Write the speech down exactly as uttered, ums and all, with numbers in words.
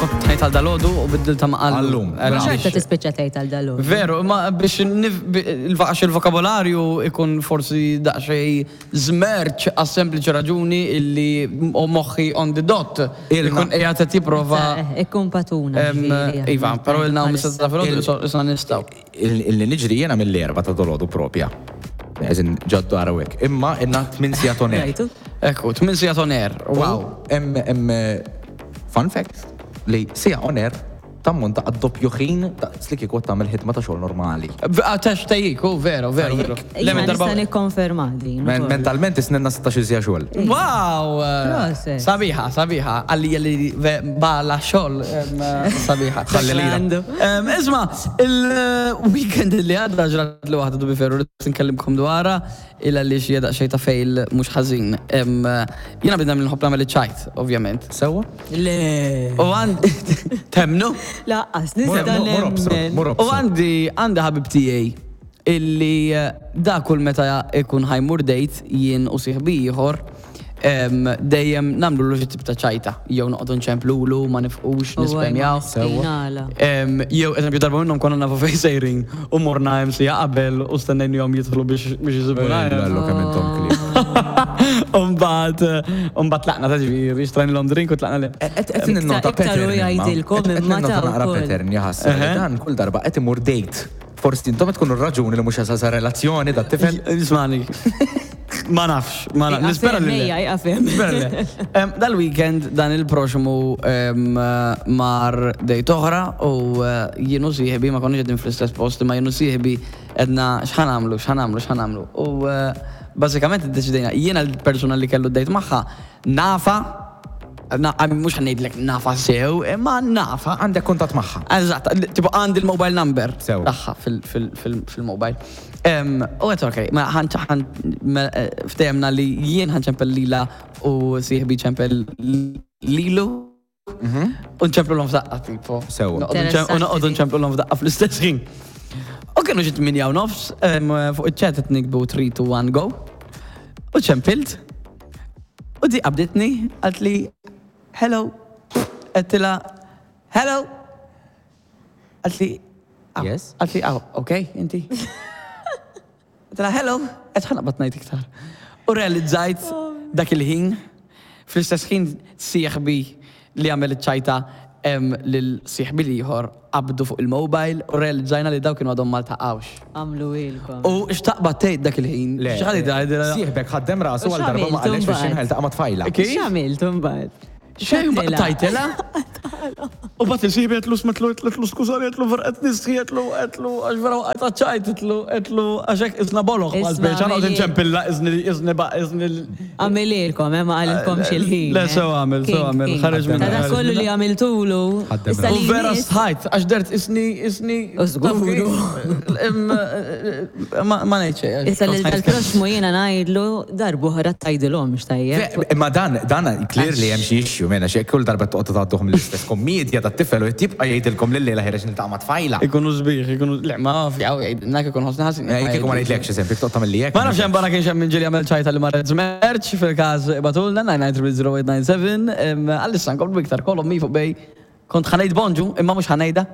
Kont ngħid għal dalgħodu u biddilta ma' Għallum. Għal- Xorta tispiċċa tgħid għal dalgħodu. Veru, ma biex nif- bi- il-għax il-vokabolarju ikun forsi daqsxejn żmerċ għas sempliċi raġuni illi u moħħi on the dot. Ilna. Ikun qiegħed qed jipprova. Ikkun patuna. em, ġifieri, Iva, però ilna bħalissa. mis-sitta filgħodu issa nistgħu. Il-li niġri jena mill-erba ta' dolodu propja. Eżin ġaddu għarawek. Imma inna tmien sigħat on air. Rajtu? Ekku, tmien sigħat on air. Wow. Em, em, fun fact, li siegħa on air tammonta għad-doppju ħin ta' li kieku tagħmel ħidma ta' xogħol normali. Għax tgħajjik, u veru, veru, veru. Jiena Le, minn darba- nista' nikkonferma din. Men- ukoll. Mentalment isnenna sittax-il siegħa xogħol. Wow! Proset. Sabiħa, sabiħa. Għalli għalli bala xogħol em, sabiħa. Ħalli lila. Għandu. Em, Isma, il-weekend li għadda ġrat li waħda dubi ferru li nkellimkom dwarha illa li xie daqsxejn ta' fail mhux ħażin. Em, Jiena bidna minn nħobb nagħmel iċ-ċajt, ovvjament. Sewwa? Le. U għandi temnu? Laqqas, nista' Mur obsru, nemmen. mur U obsru. għandi għandi ħabib tiegħi illi eh, da kull meta ikun ħa jmur date jien u sieħbi ieħor em, dejjem nagħmlu l tip ta' ċajta. Jew noqogħdu nċemplulu, ma nifqux, nispemjaw. Sewwa. Em, Jew, eżempju, darba minnhom konna nafu fejn sejrin u morna hemm siegħa qabel u stennejnihom jidħlu biex biex jisibuna. Lallu kemm intom klieb. Umbagħad, umbagħad tlaqna ta' ġifieri, xtrajnilhom drink u tlaqna le. Qed ninnota Iktar- iktar pattern. u imma. jgħidilkom Qed imma ninnota ta' naqra wkoll. pattern jaħasra li dan kull darba qed imur date. Forsi intom qed tkunu r-raġuni li mhux jasal relazzjoni dat tifel. Ismani. Ma nafx, ma nafx. Nispera li. le. Ejja, jqafem. Nispera li le. Em, Dal-weekend dan il-proxmu em, mar date oħra u eh, jien u sieħbi ma konniex qegħdin fl-istess post, ma jien u sieħbi għedna x'ħa nagħmlu, x'ħa nagħmlu, x'ħa nagħmlu. U eh, bażikament iddeċidejna jiena l-persuna li kellu date magħha nafa, na, mhux ħa ngħidlek nafa sew, imma nafa. Għandek kuntatt magħha. Eżatt, tipo għandi il-mobile number Sew. tagħha fil-mobile. U għedt ok, ma ħan ħan ftehemna li jien ħa nċempel lila u sieħbi ċempel lilu. U nċemplulhom f'daqqa tipo. Sewa. Noqogħdu nċem- U noqogħdu nċemplulhom f'daqqa fl-istess ħin. U kienu xi tmienja u nofs, em, fuq iċ-chat qed niktbu three, two, one, go. U ċempilt. U di qabditni, qaltli, "Hello." Għedtilha, "Hello." Qaltli, "Ah." Yes? Qaltli, "Ah, ok, inti." Għedtilha, "Hello." Għedt ħa naqbad ngħid iktar. U realizzajt dak il-ħin, fl-istess ħin sieħbi li għamel iċ-ċajta em, lil sieħbi l-ieħor qabdu fuq il-mobile u realizzajna li daw kienu għadhom ma ltaqgħux. Għamlu ilkom. U xtaqbad tgħid dak il-ħin? Le. X'ħadi tgħid? Sieħbek ħaddem rasu U għal darba ma x'għamiltu qalx biex mbagħad? jinħel taqa' ma' tfajla. Kif? X'għamiltu mbagħad? Xejn X'għedtilha? tajtela. U bat il-sieħbi għedtlu smetlu, għedtlu skużani, għedtlu vera qed nistħi, għedtlu, għedtlu, għax vera għajta ċajt, għedtlu, għedtlu, għax hekk isna boloħ, Isma' għal speċa, għod għamili- nċempilla, izni, izni, ba, izni. Għamililkom, eh, ma qalilkom xil-ħin. Le, eh. sew għamil, sew King, għamil, king. ħareġ minna, Ta' dak ħareġ kollu minna. li għamiltulu. Ħaddem issa U li vera jmiss- stħajt, għax dert isni, isni. U żguru. Em, eh, Ma ma ngħid xejn. Issa li tal-proxmu jiena ngħidlu darb'oħra tgħidilhom x'tajjeb. Imma dan, dan clearly hemm xi issue mena xi kull darba toqgħod tgħadduhom l-istess kommedja tat-tifel u jtibqa' jgħidilkom lil lejla ħireġ niltaqa' ma' tfajla. Ikunu sbieħ, ikunu, le, ma fjaw, jgħidilna ikun ħosna ħażin. Eh, Kieku ma ngħidlekx eżempju, toqgħod tagħmel li hekk. Ma nafx hemm barra kienx hemm min ġieli għamel ċajta li marret żmerċ fil-każ ibagħtulna nine nine three zero eight nine seven. Għalissa nkomplu iktar kolom mi fuq bej kont ħa ngħid bonġu imma mhux ħa ngħidha.